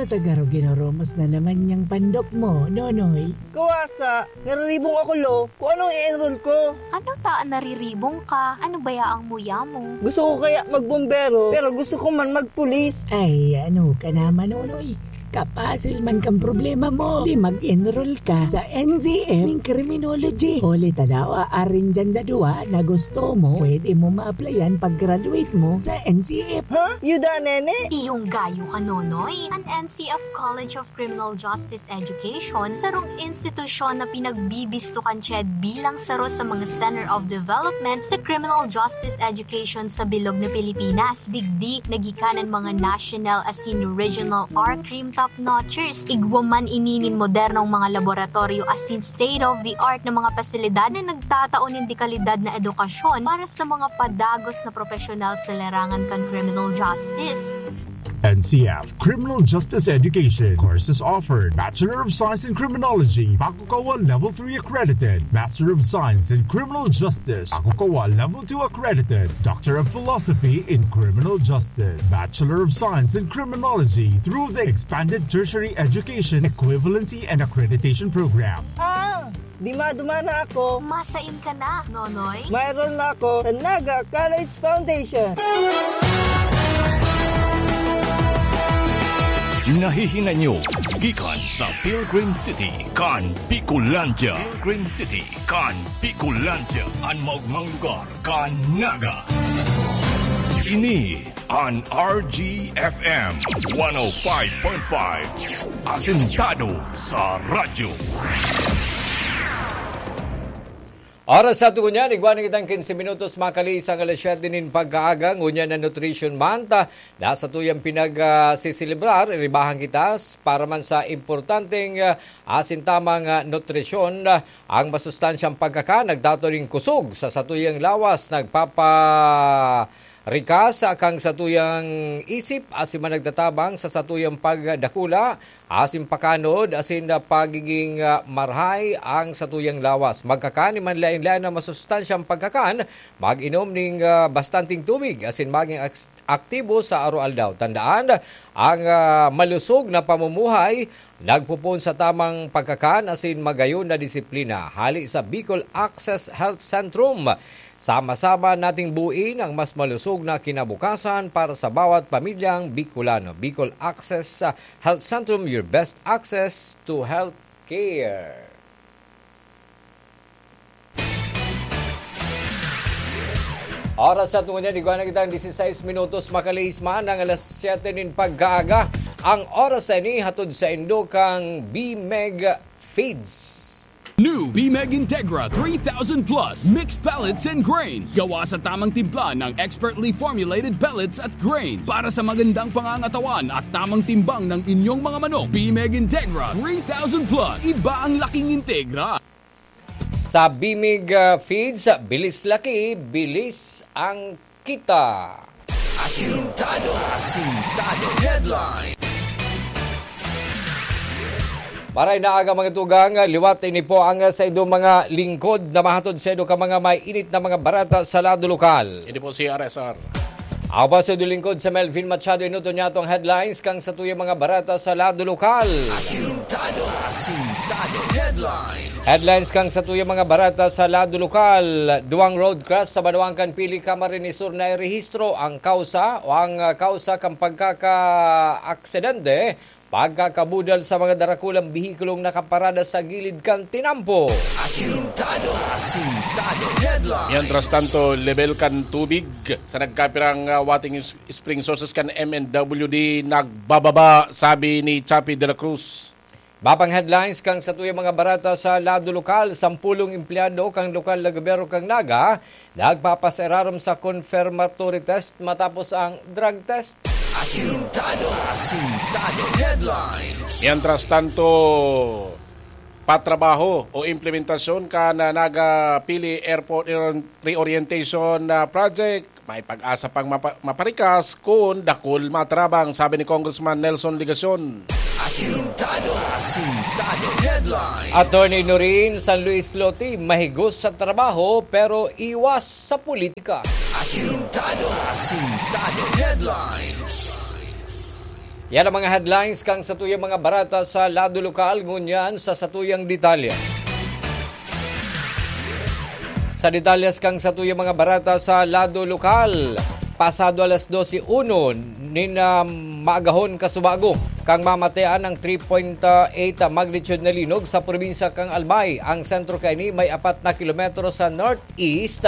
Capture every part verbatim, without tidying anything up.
Tagarog, ginoromos na naman niyang pandok mo, Nonoy. Kawasa, nariribong ako, lo. Kung anong i-enroll ko? Ano ta an nariribong ka? Ano baya ang muya mo? Gusto ko kaya magbombero, pero gusto ko man magpulis. Ay, ano ka naman, Nonoy? Kapasil man kang problema mo. Di mag-enroll ka sa N C F ning criminology. Huli ta daw, aarin dyan sa duwa na gusto mo, pwede mo ma-applyan pag-graduate mo sa N C F. Ha? Yuda, nene? Iyong gayo ka, Nonoy. An N C F College of Criminal Justice Education, sarong institusyon na pinagbibisto kan CHED bilang saro sa mga Center of Development sa Criminal Justice Education sa bilog na Pilipinas. Digdi, nagikanan mga national asin regional R-Crime top notchers. Igwa man ini nin modernong mga laboratoryo asin state-of-the-art na mga pasilidad na nagtatao nin dekalidad na edukasyon para sa mga padagos na profesional sa larangan kan criminal justice. N C F Criminal Justice Education. Courses offered: Bachelor of Science in Criminology, Pakukawa Level three accredited; Master of Science in Criminal Justice, Pakukawa Level two accredited; Doctor of Philosophy in Criminal Justice, Bachelor of Science in Criminology through the Expanded Tertiary Education Equivalency and Accreditation Program. Ah, di madumana ako. Masain ka na, Nonoy. Mayroon na ako sa Naga College Foundation. Nahihinay nyo gikan sa Pilgrim City kan Bicolandia. Pilgrim City kan Bicolandia, an maogmang lugar kan Naga. Ini an R G F M one oh five point five, asentado sa radyo. Oras sa tungo niyan, igwa na kitang quince minutos makaliis ang alas siyete nin pagkaaga, ngunyan na Nutrition Month, ah, na satuyang pinag, ah, siselebrar, iribahan kita s-, para man sa importanteng, ah, asin tamang, ah, nutrisyon, ah, ang masustansyang pagkakan, nagtataw nin kusog sa satuyang lawas, nagpaparikas kan satuyang isip, asin man nagtatabang sa satuyang pagdakula, asin pakanod, asin, ah, pagiging, ah, marahay ang satuyang lawas. Magkakan nin manlaen-laen na masustansyang pagkakan, mag-inom nin, ah, bastanteng tubig, asin maging aks-, aktibo sa aroaldaw. Tandaan, ang, ah, malusog na pamumuhay nagpopoon sa tamang pagkakan asin magayon na disiplina. Hale sa Bicol Access Health Centrum, sama-sama nating buuin ang mas malusog na kinabukasan para sa bawat pamilyang Bicolano. Bicol Access, ah, Health Centrum, your best access to health care. Oras sa tungo niyan, igwa na kitang dieciséis minutos, makaliis man ang alas siyete nin pagkaaga. Ang oras na ini hatod saindo kan Bimeg Feeds. New Bimeg Integra three thousand Plus Mixed Pellets and Grains. Gawa sa tamang timpla ng expertly formulated pellets at grains para sa magandang pangangatawan at tamang timbang ng inyong mga manok. Bimeg Integra three thousand Plus. Iba ang laking Integra. Sa Bimeg, ah, Feeds, bilis laki, bilis ang kita. Asintado, asintado headline. Maray na aga, mga tugang, liwat ini po ang, ah, saindo mga lingkod na mahatod saindo kan mga may init na mga bareta sa lado lokal. Ini po si R S R. Ako po si lingkod sa Melvin Machado, inuton niya atong headlines kan satuyang mga bareta sa lado lokal. Asintado, asintado headlines. Headlines kan satuyang mga bareta sa lado lokal. Duwang road crash sa banwaan kan Pili, Camarines Sur na irehistro. Ang kausa o ang, ah, kausa kan pagkakaaksidente, pagkakabudal sa mga darakulang behikulong nakaparada sa gilid kan tinampo. Asintado, asintado headlines. Mientras tanto, lebel kan tubig sa nagkapirang, ah, watering s-, spring sources kan M N W D nagbababa, sabi ni Chappie de la Cruz. Iba pang headlines kan satuyang mga bareta sa lado lokal. Sampulong empleyado kan lokal na gobyerno kan Naga nagpapasa-irarom sa confirmatory test matapos ang drug test. Asintado, asintado headlines. Mientras tanto, patrabaho o implementasyon kan Naga Pili Airport Reor-, Reorientation, ah, Project, may pag-asa pang mapa-, maparikas kun dakul matarabang, sabi ni Congressman Nelson Legacion. Asintado, asintado headlines. Attorney Noreen San Luis Loti, mahigos sa trabaho pero iwas sa politika. Asintado, asintado headlines. Yan ang mga headlines kan satuyang mga bareta sa lado lokal, ngunyan sa satuyang detalye. Sa detalye kan satuyang mga bareta sa lado lokal, pasado alas dose uno nin, ah, maagahon kasubago kan mamatean ang three point eight magnitude na linog sa probinsya kan Albay. Ang sentro kaini may apat na kilometro sa north east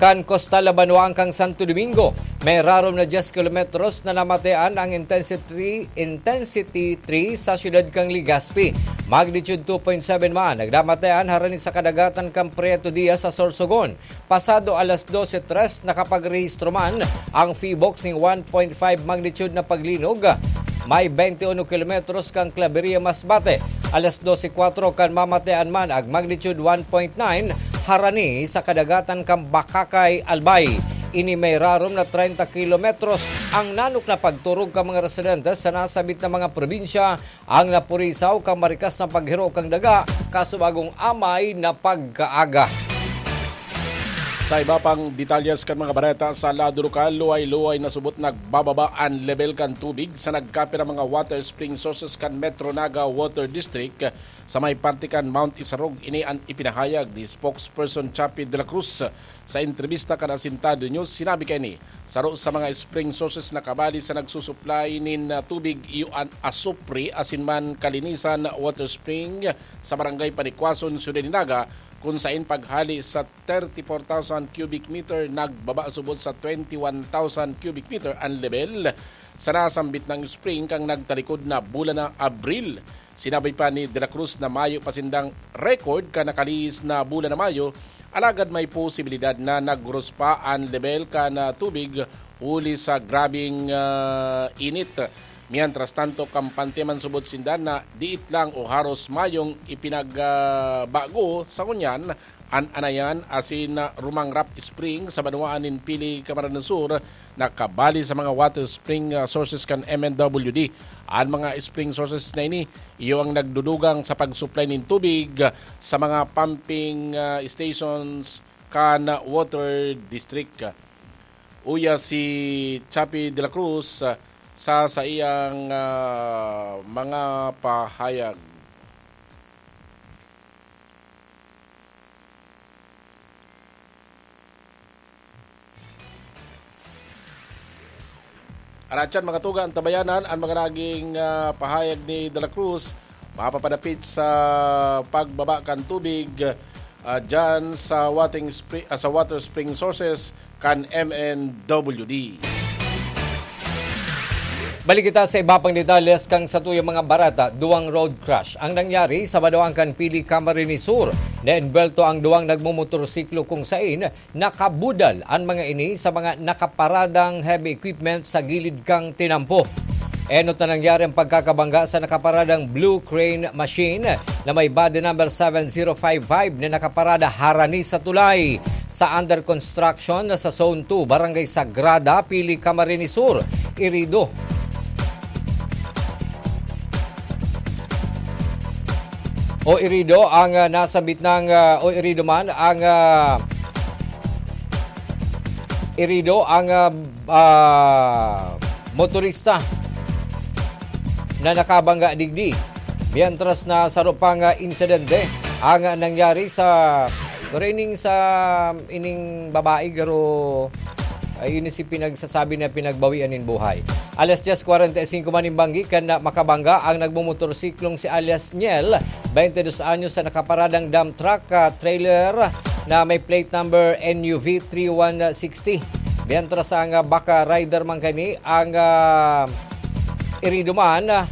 kan kostal na banwaan kan Santo Domingo. May rarom na diyes kilometros na namatean ang intensity, intensity three sa siyudad kan Legazpi. Magnitude two point seven man nagdamatean harani sa kadagatan kan Prieto Diaz sa Sorsogon. Pasado alas dose tres, nakapagrehistro man ang PHIVOLCS ning one point five magnitude na paglinog. May twenty-one kilometros kan Claveria, Masbate. Alas dose kwatro kan mamatean man ang magnitude one point nine harani sa kadagatan kan Bacacay, Albay. Ini may rarom na treinta kilometros. Ang nanok na pagturog kan mga residente sa nasabit na mga probinsya ang napurisaw kan marikas na paghiro kan daga kasubagong amay na pagkaaga. Sa iba pang detalyes kan mga bareta sa lado lokal, luway-luway na subot nagbababa an lebel kan tubig sa nagkapirang mga water spring sources kan Metro Naga Water District. Sa may parte kan Mount Isarog, ini an ipinahayag ni spokesperson Chappie de la Cruz. Sa entrebista kan Asintado News, sinabi kaini, saro sa mga spring sources na kabali sa nagsusuplay nin, ah, tubig iyo an Asupre asin man Kalinisan Water Spring sa Barangay Panikwason, Siyudad ni Naga, kun sain paghali sa thirty-four thousand cubic meter, nagbaba subot sa twenty-one thousand cubic meter an lebel sa nasambit nang spring kan nagtalikod na bulan na Abril. Sinabi pa ni De La Cruz na mayo pa sindang record kan nakalihis na bulan na Mayo, alagad may posibilidad na naghuros pa an lebel kan, ah, tubig huli sa grabeng, ah, init. Mientras tanto, kampante man subot sinda na diit lang o haros mayong ipinagbago sa ngunyan an Anayan asin, ah, Rumangrap Spring sa banwaan nin Pili, Camarines Sur, na kabali sa mga water spring, ah, sources kan M N W D. An mga spring sources na ini, iyo ang nagdudugang sa pagsuplay nin tubig, ah, sa mga pumping, ah, stations kan water district. Uya si Chappie de la Cruz, ah, sa saiyang, ah, mga pahayag. Aratyan, mga tugang tabayanan, an mga naging, ah, pahayag ni De La Cruz mapapadapit sa pagbaba kan tubig, ah, dyan sa wating spri-, ah, sa water spring sources kan M N W D. Balik kita sa iba pang detalles kan satuyang mga bareta. Duwang road crash ang nangyari sa banwaan kan Pili, Camarines Sur. Naembwelto ang duwang nagmomotorsiklo kung sain nakabudal an mga ini sa mga nakaparadang heavy equipment sa gilid kan tinampo. Enot na nangyari ang pagkakabangga sa nakaparadang Blue Crane machine na may body number seven zero five five na nakaparada harani sa tulay sa under construction sa Zone two, Barangay Sagrada, Pili, Camarines Sur. Irido o irido ang, ah, nasambit ng, ah, o irido man ang, ah, irido ang, ah, ah, motorista na nakabangga digdi. Mientras na saro pang, ah, insidente ang, ah, nangyari sa, pero ining sa, ining babae, garo, ay, ini si pinagsasabi na pinagbawian nin buhay. Alas diyes kwarenta y singko man nin banggi kan makabangga ang nagmumotorsiklong si alias Niel, twenty dos anyos, sa nakaparadang dump truck, ah, trailer na may plate number N U V three one sixty. Mientras ang, ah, baka rider man kani ang, ah, irido man, ah,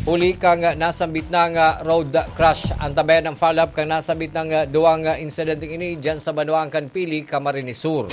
huli kang, ah, nasambit na nga road crash. Antabayan ang follow-up kan nasambit na nga duwang, ah, insidenteng ini dyan sa banwaan kan Pili, Camarines Sur.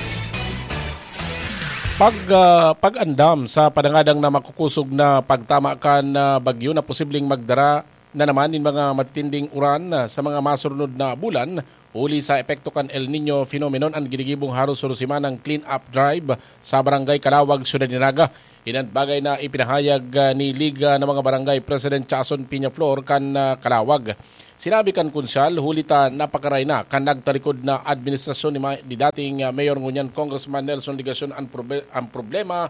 Pag, ah, pag-andam sa padangadang na makukusog na pagtama kan, ah, bagyo na posibleng magdara na naman nin mga matitinding uran, ah, sa mga masunod na bulan, huli sa epekto kan El Niño phenomenon, an ginigibong haros sunod semanang clean-up drive sa Barangay Calawag, Siyudad ni Naga. Inan bagay na ipinahayag, ah, ni Liga ng mga Barangay President Chason Peñaflor kan, ah, Calawag. Sinabi kan Konsyal, huli ta napakaray na kan nagtalikod na administrasyon ni ma-, ni dating, ah, Mayor ngunyan Congressman Nelson Legacion an probe-, ang problema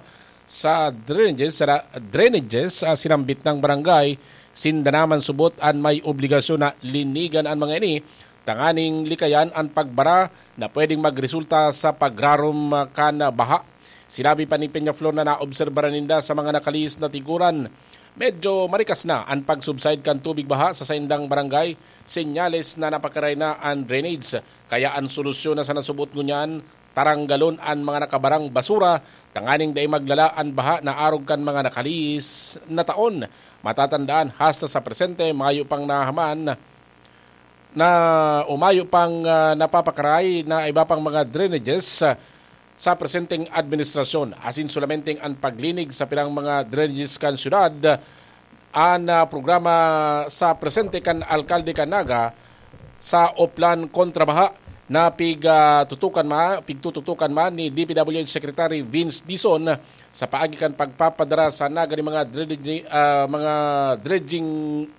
sa drainages, sa ra-, drainages sa sinambit ng barangay, sinda naman subot an may obligasyon na linigan an mga ini, tanganing likayan an pagbara na pwedeng magresulta sa pagrarom, ah, kan baha. Sinabi pa ni Peñaflor na naobserbaran ninda sa mga nakalihis na tiguran, medyo marikas na an pag-subside kan tubig baha sa saindang barangay, senyales na napakaray na an drainage. Kaya an solusyon na sana subot ngunyan, taranggalon an mga nakabarang basura tanganing dai maglala an baha na arog kan mga nakalihis na taon. Matatandaan, hasta sa presente, mayo pang nahaman na o mayo pang, ah, napapakaray na iba pang mga drainages, ah, sa presenteng administrasyon. Asin solamenteng an paglinig sa pirang mga drainages kan syudad, an, ah, programa sa presente kan alkalde kan Naga sa Oplan kontra baha na pig, ah, tutukan ma-, pigtututukan man ni D P W H Secretary Vince Dizon sa paagi kan pagpapadara sa Naga ni mga dredging, ah, mga dredging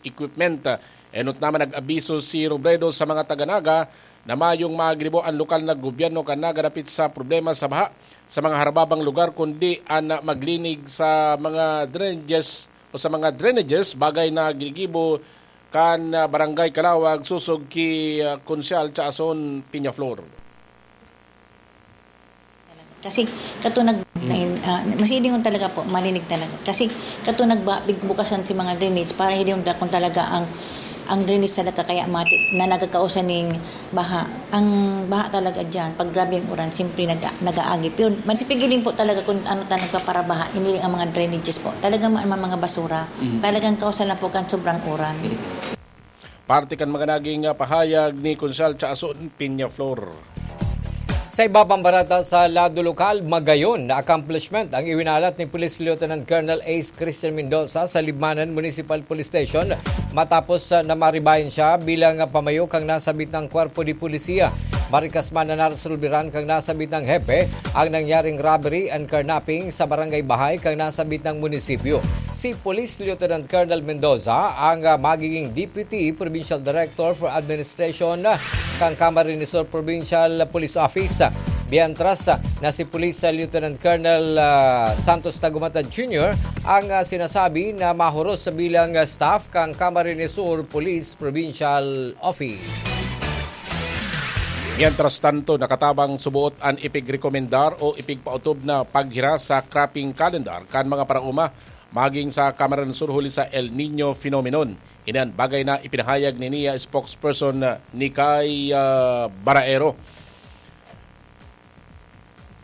equipment. Enot naman nag-abiso si Robredo sa mga taga Naga na mayong magribo an lokal na gobyerno kan Naga dapit sa problema sa baha sa mga harababang lugar, kundi an maglinig sa mga drainages o sa mga drainages, bagay na ginigibo kan, ah, Barangay Calawag, sosog ki, ah, Konsyal Chaason Peñaflor. Kasi kato nag-, ah, masilingon talaga po, malinig talaga. Kasi kato nagba-, big-, bukasan si mga drainage para hilingon ta kung talaga ang, ang drainage talaga kaya mati-, na nagkakausa ning baha. Ang baha talaga diyan, pag grabe ang uran, siyempre nag-, nag-aagip yun. Masipigiling po talaga kung ano talaga para baha, hindi ang mga drainages po. Talagang ma-, mga basura. Talagang kausa lang po kan sobrang uran. Parte kan mga naging, ah, pahayag ni Konsehal Chaason Peñaflor. Sa iba pang barata sa lado lokal, magayon na accomplishment ang iwinalat ni Police Lieutenant Colonel Ace Christian Mendoza sa Libmanan Municipal Police Station matapos, ah, na maribayan siya bilang, ah, pamayo kan nasabit na kwerpo de polisiya. Marikas man na naresolberan kan nasabit na hepe ang nangyaring robbery and carnapping sa barangay Bahay kan nasabit na munisipyo. Si Police Lieutenant Colonel Mendoza ang, ah, magiging Deputy Provincial Director for Administration kan Camarines Sur Provincial Police Office. Mientras, ah, na si Police Lieutenant Colonel, ah, Santos Tagumata Junior ang, ah, sinasabi na mahuros bilang, ah, staff kan Camarines Sur Police Provincial Office. Mientras tanto, nakatabang suboot an ipigrekomendar o ipigpaotob na paghira sa cropping calendar kan mga paraoma maging sa Camarines Sur huli sa El Niño phenomenon. Ini an bagay na ipinahayag ni N I A spokesperson, ah, Nikay, ah, Baraero.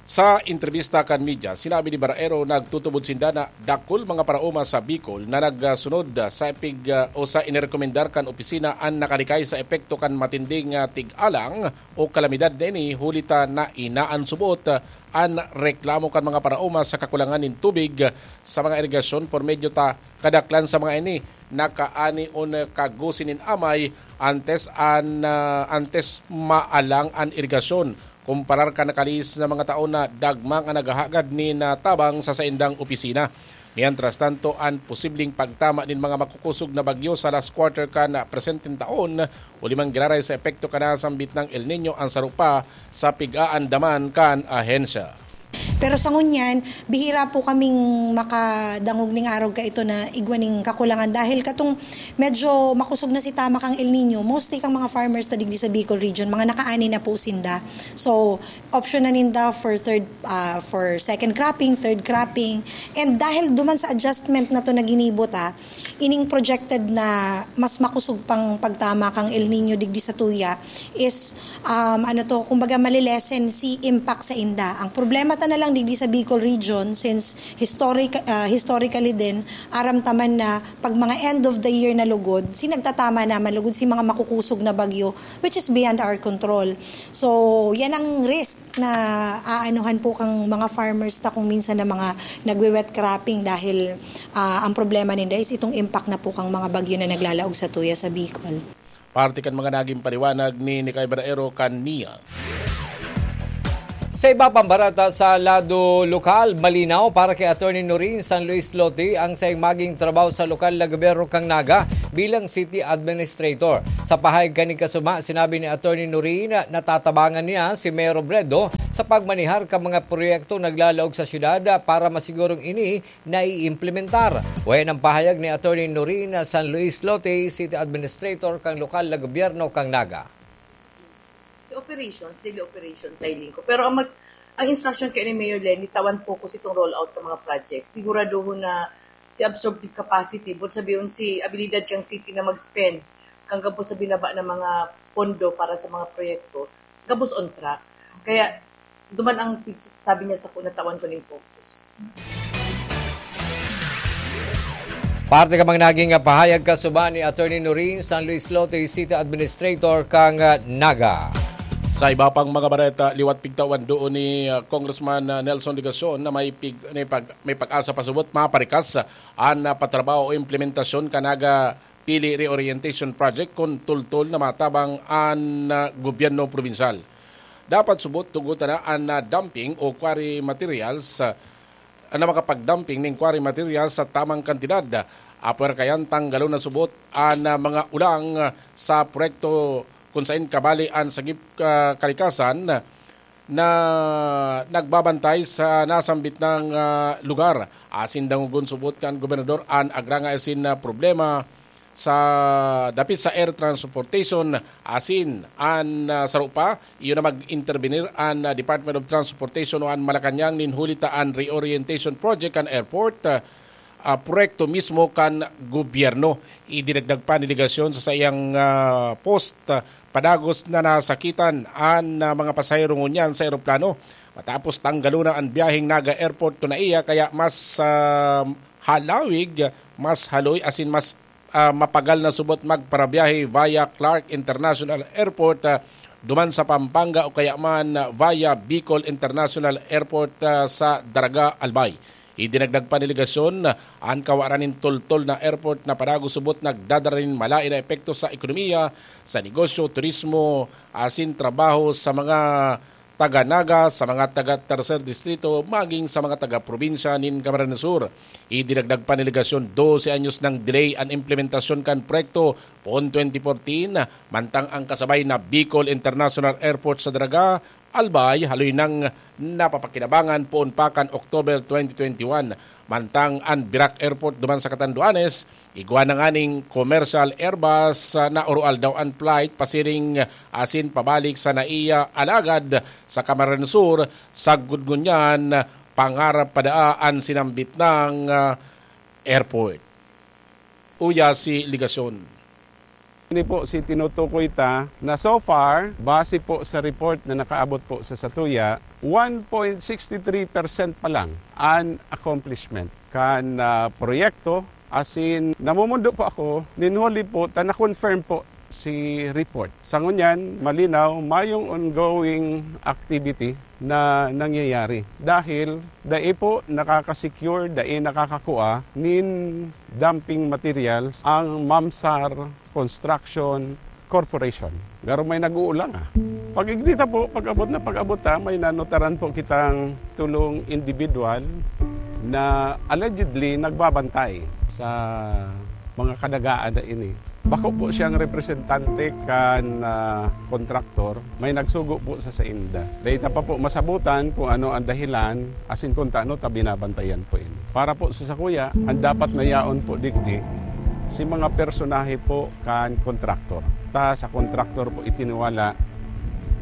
Sa entrebista kan media, sinabi ni Baraero na nagtutubod sinda na dakul mga paraoma sa Bicol na nagsunod sa epig-, o sa inirekomendar kan opisina an nakalikay sa epekto kan matinding, ah, tig-alang o kalamidad na ini, huli ta na inaan subot an reklamo kan mga paraoma sa kakulangan nin tubig sa mga irigasyon por medyo ta kadaklan sa mga ini nakaani o nakagusi nin amay antes an, ah, antes maalang an irigasyon. Kumparar kan nakalihis na mga taon na dagmang an naghahagad nin, ah, tabang sa saindang opisina. Mientras tanto, an posibleng pagtama nin mga makukusog na bagyo sa last quarter kan, ah, presenteng taon, huli man giraray sa epekto kan nasambit na El Niño an saro pa sa pig-aandaman kan ahensya. Pero sa ngunyan, bihira po kaming makadangog ning arog kaito na igwa ning kakulangan dahil katong medyo makusog na si tama kang El Niño, mostly kang mga farmers ta digdi sa Bicol region, mga nakaani na po sinda. So, option na ninda for third, ah, for second cropping, third cropping. And dahil duman sa adjustment na to na ginibo ta, ining projected na mas makusog pang pagtama kang El Niño digdi sa tuya is, um, ano to, kumbaga, malilesen si impact sa inda. Ang problema ta na lang digdi sa Bicol region, since historic-, ah, historically din, aram ta man na pag mga end of the year na lugod, si nagtatama naman lugod si mga makukusog na bagyo, which is beyond our control. So, yan ang risk na aanuhan po kang mga farmers ta kung minsan na mga nagwe-wet cropping dahil, ah, ang problema ninda is itong impact na po kang mga bagyo na naglalaog sa tuya sa Bicol. Parte kan mga naging paliwanag ni Nikay Baraero kan N I A. Sa iba pang barata sa lado lokal, malinaw para kay Attorney Noreen San Luis Lote ang saiyang maging trabaho sa lokal na gobyerno kan Naga bilang city administrator. Sa pahayag kaning kasuma, sinabi ni Attorney Noreen na natatabangan niya si Mayor Robredo sa pagmanihar kan mga proyekto naglalaog sa syudad para masigurong ini naiimplementar. Wayan ang pahayag ni Attorney Noreen San Luis Lote, City Administrator kan lokal na gobyerno kan Naga. Si operations, daily operations, sa hiling ko. Pero ang mag, ang instruction kay ni Mayor Leni, tawan focus itong rollout ng mga projects. Siguraduhon na si absorptive capacity, but sabihin si abilidad kang city na mag-spend, kang gabos sa binaba ng mga pondo para sa mga proyekto, gabos on track. Kaya, duman ang sabi niya sa kuna, tawan ko ning focus. Parte ka mang naging pahayag kasuba ni Attorney Noreen San Luis Lote, City Administrator kang ah, Naga. Sa iba pang mga bareta, liwat pigtawan doon ni ah, Congressman ah, Nelson Legacion na may, pig, may, pag, may pag-asa pasubot maparikas an ah, patrabaho o implementasyon kan Naga Pili Reorientation Project kun tultol na matabang an ah, gobyerno probinsyal. Dapat subot tugutan na an ah, dumping o quarry materials ah, na makapag-dumping nin quarry materials sa tamang kantidad. Apwera kayan, tanggalon na subot an ah, mga ulang ah, sa proyekto kun sain kabali an sagip ah, kalikasan na nagbabantay sa nasambit na ah, lugar. Asin dangogon subot kan gobernador an agrangay asin ah, problema sa dapit sa air transportation asin an ah, saro pa, iyo na mag-intervenir an ah, Department of Transportation o an Malacañang nin huli ta an reorientation project kan airport, ah, ah, proyekto mismo kan gobyerno. Idinagdag pa ni Legacion sa saiyang ah, post, ah, padagos na nasakitan an ah, mga pasahero ngunyan sa eroplano matapos tanggalon na an biyaheng Naga Airport to naiya, kaya mas ah, halawig, mas haloy asin mas ah, mapagal na subot magparabiyahe via Clark International Airport ah, duman sa Pampanga o kaya man via Bicol International Airport ah, sa Daraga, Albay. Idinagdag pa ni Legacion, an kawaran nin toltol na airport na padagos subot nagdadara nin malaen na epekto sa ekonomiya, sa negosyo, turismo, asin trabaho sa mga taga Naga, sa mga taga Tercer Distrito, maging sa mga taga probinsya nin Camarines Sur. Idinagdag pa ni Legacion, dose anyos nang delay an implementasyon kan proyekto poon twenty fourteen, mantang ang kasabay na Bicol International Airport sa Daraga, Albay, haloy nang napapakinabangan poon pa kan October twenty twenty-one. Mantang an Virac Airport duman sa Catanduanes, igwa na nganing commercial Airbus ah, na oroaldaw an flight pasiring asin pabalik sa naiya, alagad sa Camarines Sur, sagkod ngunyan, pangarap pa daa an sinambit nang ah, airport. Uya si Legacion. Ini po si tinutukoy ta na so far, base po sa report na nakaabot po sa satuya, one point six three percent pa lang an accomplishment kan ah, proyekto. Asin, namumundo po ako, nin huli po, ta na-confirm po si report. Sa ngunyan, malinaw, mayong ongoing activity na nangyayari. Dahil dai po nakaka-secure, dai nakakakua nin dumping materials ang Mamsar Construction Corporation. Garo may nag-uulang ah. Pag-ignita po, pag-abot na pag-abot ta, may nanotaran po kitang tulong individual na allegedly nagbabantay sa mga kadagaan na ini. Bako po siyang representante kan ah, kontraktor, may nagsugo po sa sainda. Dahil ta pa po masabutan kung ano ang dahilan, asin kung taano ta binabantayan po ini. Para po sa sakuya, ang dapat na yaon po digdi, si mga personahe po kan kontraktor. Ta sa kontraktor po itiniwala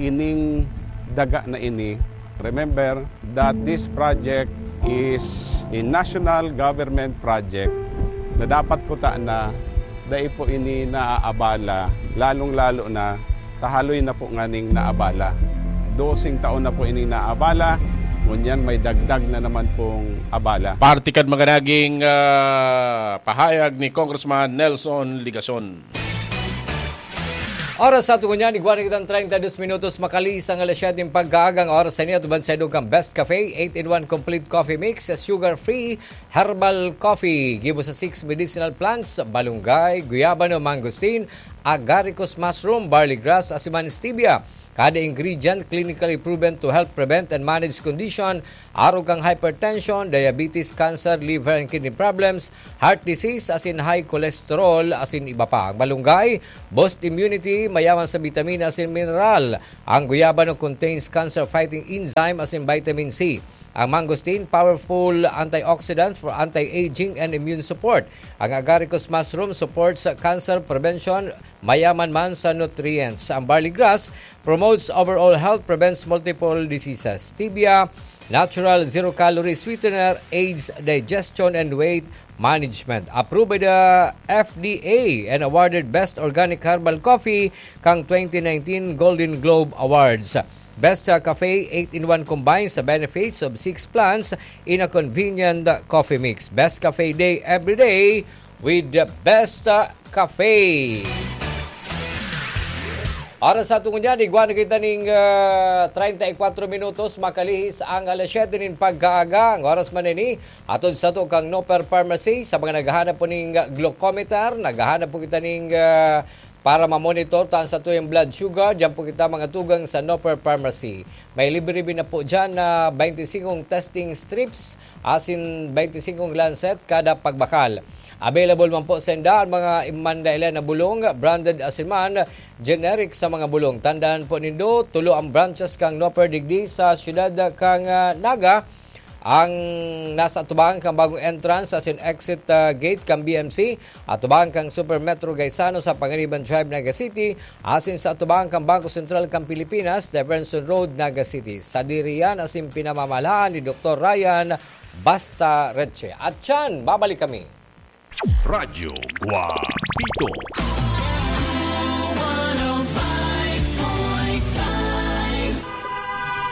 ining daga na ini. Remember that this project is a national government project na dapat kuta na dai po ini naaabala, lalong-lalo na tahaloy na po nganing naabala. Dosing taon na po ini naabala, ngunyan may dagdag na naman pong abala. Parte kan mga naging ah, pahayag ni Congressman Nelson Legacion. Oras sa tungo niya, igwa na kitang treinta y dos minutos, makaliis ang alas siyete ng pagkaaga. Ang oras sa inyo, atubang sa idong kang Best Cafe, eight-in-one Complete Coffee Mix, sugar-free, herbal coffee, gibo sa six medicinal plants, balunggay, guyabano, mangosteen, agaricus mushroom, barley grass, asin man stevia. Kada ingredient clinically proven to help prevent and manage condition, arog kang hypertension, diabetes, cancer, liver and kidney problems, heart disease, asin high cholesterol, asin iba pa. Ang malunggay, boost immunity, mayaman sa bitamina asin mineral. Ang guyabano contains cancer-fighting enzyme asin vitamin C. Ang mangosteen, powerful antioxidant for anti-aging and immune support. Ang agaricus mushroom supports sa cancer prevention, mayaman man sa nutrients. Ang barley grass promotes overall health, prevents multiple diseases. Stevia, natural zero-calorie sweetener, aids digestion and weight management. Approved by the F D A and awarded Best Organic Herbal Coffee kang twenty nineteen Golden Globe Awards. Best uh, Cafe eight-in-one combines the benefits of six plants in a convenient uh, coffee mix. Best Cafe Day every day with the Best uh, Cafe. Oras sa tungo niyan, igwa na kita ning ah, treinta y cuatro minutos, makalihis ang alas siyete nin pagkaaga. Ang oras man ini, atod sa to kang Noper Pharmacy, sa mga naghahanap po ning glucometer, naghahanap po kita ning ah, para ma-monitor ta ang satuyang blood sugar, diyan po kita mga tugang sa Noper Pharmacy. May libre bin na po dyan na twenty-five testing strips, asin twenty-five lancet kada pagbakal. Available man po sa inda ang mga imandailan na bulong, branded asin man, generic sa mga bulong. Tandaan po nindo, tulo ang branches kang Noper digdi sa siyudad kang ah, Naga, ang nasa atubangan kang bagong entrance asin exit ah, gate kang B M C, atubangan kang Super Metro Gaisano sa Panganiban Drive, Naga City, asin sa atubangan kang Bangko Sentral kang Pilipinas, Defenson Road, Naga City. Sadiri yan asin pinamamahalaan ni Doktor Ryan Basta Reche. At yan, babalik kami. Radyo Guapito.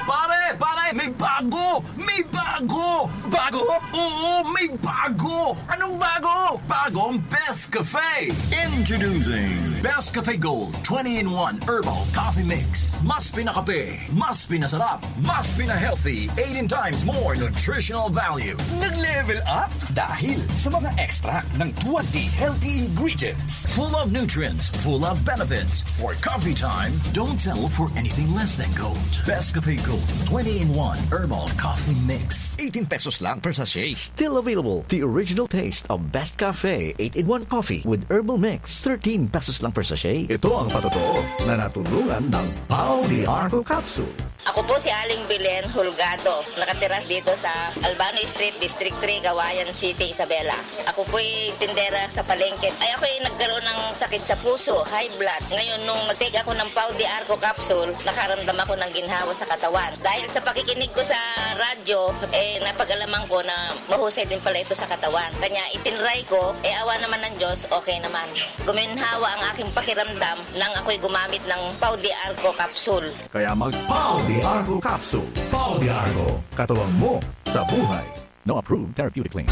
Pare, pare, may bago! May bago! Bago? Oo, may bago! Anong bago? Bago ang Best Cafe! Introducing Best Cafe Gold twenty-in-one Herbal Coffee Mix. Mas pinakape, mas pinasarap, mas pina-healthy, eighteen times more nutritional value. Nag-level up dahil sa mga extract ng twenty healthy ingredients. Full of nutrients, full of benefits. For coffee time, don't settle for anything less than gold. Best Cafe Gold twenty-in-one Herbal Coffee Mix. Eighteen pesos lang per sachet. Still available, the original taste of Best Cafe eight-in-one Coffee with Herbal Mix. Thirteen pesos lang per sachet. Ito ang patotoo na natulungan ng Pau de Arco Capsule. Ako po si Aling Belen Holgado. Nakatira dito sa Albano Street, District three, Cauayan City, Isabela. Ako po'y tindera sa palengke. Ay, ako'y nagkaroon ng sakit sa puso, high blood. Ngayon, nung nag-take ako ng Pau de Arco capsule, nakaramdam ako ng ginhawa sa katawan. Dahil sa pakikinig ko sa radyo, eh, napag-alaman ko na mahusay din pala ito sa katawan. Kanya, itinry ko, eh, awa naman ng Diyos, okay naman. Guminhawa ang aking pakiramdam nang ako'y gumamit ng Pau de Arco capsule. Kaya mag Pau de Arco Capsule. Pau de Arco, katuwang mo sa buhay. No approved therapeutic claim.